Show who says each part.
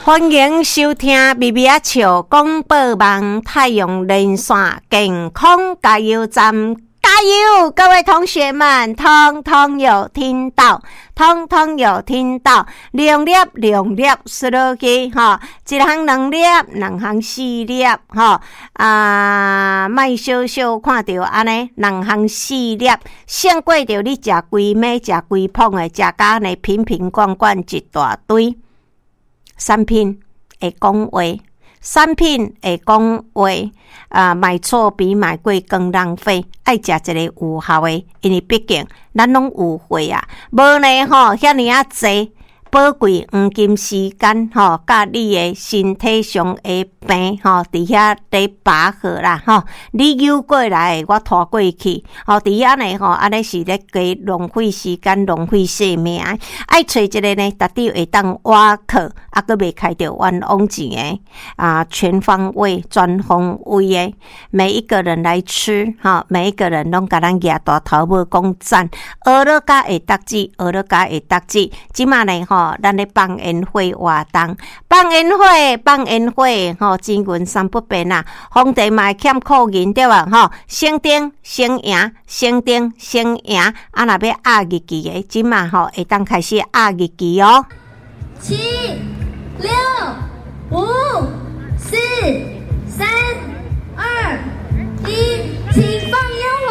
Speaker 1: 歡迎收聽微微仔笑廣播網太陽連線健康加油站，加油！各位同學們，通通有聽到，通通有聽到，兩粒兩粒嗍落去吼，一項兩粒，兩項四粒吼，啊，莫小小看著按呢，兩項四粒，勝過著你食規暝食規捧的，食甲按呢瓶瓶罐罐一大堆。產品會講話，產品會講話，啊，買錯比買貴更浪費。愛食一個有效的，因為畢竟咱攏有歲啊，無呢吼，遐爾仔濟寶貴黃金時間吼，佮你的身體上的病吼，佇遐咧拔河啦吼，你扭過來，我拖過去，吼，佇遐呢吼，按呢是咧加浪費時間、浪費生命。愛揣一個呢，絕對會當倚靠，啊，閣袂開著冤枉錢的，啊，全方位、全方位的，每一個人來吃，吼，每一個人攏共咱舉大頭拇講讚，學了甲會得志，學了甲會得志，這馬呢吼，咱咧放煙火活動，放煙火，放煙火，吼，錢銀三不變啊，皇帝嘛會欠庫銀對無？吼，省燈省贏，省燈省贏，啊，若欲壓日期的，這馬吼會當開始壓日期哦。
Speaker 2: 七、六、五、四、三、二、一，請放煙火。